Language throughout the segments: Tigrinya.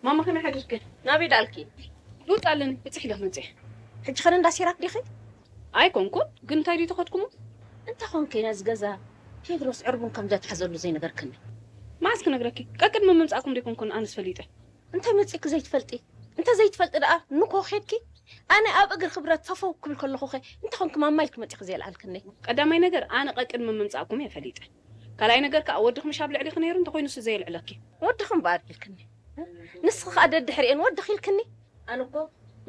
ማማ ከመይ ሓዲርኪ? ናበይ ደኣልኪ? ልውጥ ኣለኒ፣ ብፅሕ ኢለ ክመፅእ። ሕጂ ኸነ እንዳ ሲራክ ዲኺ? ኣይኮንኩን፣ ግን እንታይ ድዩ ተኸድኩሞ? እንተ ኾንኪ ነዚ ገዛ ቴድሮስ ዕርቡን ከም ዘትሓዘሉ ዘይነገርክኒ። መዓስ ክነግረኪ? ቀቅድሚ ምምፃእኩም ደይኮንኩን ኣነስ ፈሊጠ። እንታይ መፂእኪ ዘይትፈልጢ? እንተ ዘይትፈልጢ ደኣ ንኮ ኸድኪ? ኣነ ኣብ እግሪ ክብረት ፈፈው ክብል ከለኹ ኸ እንታይ ኾንኪ ማማ ኢልኪ መፂእኪ ዘየልዓልክኒ? ቀዳማይ ነገር ኣነ ቀቅድሚ ምምፃእኩም እየ ፈሊጠ። ካልኣይ ነገር ከኣ ወድኺ ምሽ ኣብ ልዕሊኺ ነይሩ እንተኾይኑ እሱ ዘየልዕለኪ። ወድኺ እምበኣር ኢልክኒ። ንስኺ ከኣ ደድሕሪኤን ወድኺ ኢልክኒ። ኣነ እኮ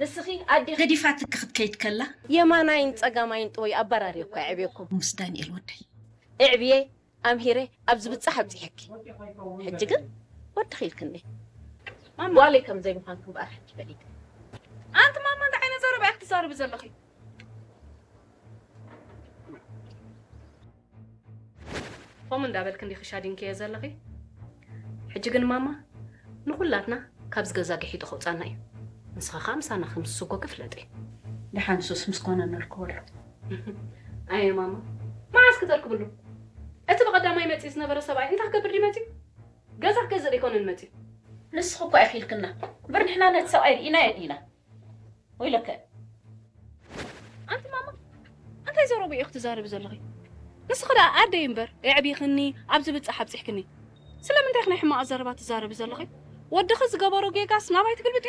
ንስኺ ኣዴኺ ገዲፋትኪ ክትከይድ ከላ የማናይን ጸጋማይን ጥወይ ኣበራሪ እኮ የዕብየኩም። ምስ ዳንኤል ወደይ። እዕብየ ኣምሂረ ኣብ ዝብጻሕ ኣብጺሐኪ። ሕጂ ግን ወድኺ ኢልክኒ። ማማ። ጓለይ ከም ዘይምዃንኪ እምበኣር ሕጂ ፈሊጠ። ኣንቲ ማማ እንታይ ዓይነት ዘረባ ኢኺ ትዛረቢ ዘለኺ? ከምኡ እንዳበልኪ እንዲኺ ሻዲንክዮ ዘለኺ። ሕጂ ግን ማማ ንኹላትና ካብዚ ገዛ ግሒጡ ከውጻና እዩ። ንስኺ ከኣ ምሳና ከም ዝስጎጊ ፍለጢ። ደሓን ሱስ ምስ ኮነ ነርክበሉ። ኣየ ማማ፣ መዓስ ክተርክብሉ? እቲ ብቐዳማይ መጺኡ ዝነበረ ሰብኣይ እንታይ ክገብር ድዩ መጺኡ? ገዛ ክገዝእ ደይኮነን መጺኡ። ንስኺ እኮ ኢኺ ኢልክና እምበር ንሕና ነቲ ሰብኣይ ርኢናዮ ዲና? ወይለከ። ኣንቲ ማማ፣ እንታይ ዘረቡ ኢኺ ትዛረቢ ዘለኺ? ንስኺ ደኣ ኣደይ እምበር፣ የዕቢኽኒ፣ ኣብዚ ብጻሕ ኣብጺሕክኒ። ስለምንታይ ኢኺ ናይ ሕማቕ ኣዘረባ ትዛረቢ ዘለኺ? ወድኺ ዝገበሮ ጌጋስ ናባይ ትግልብጥዮ?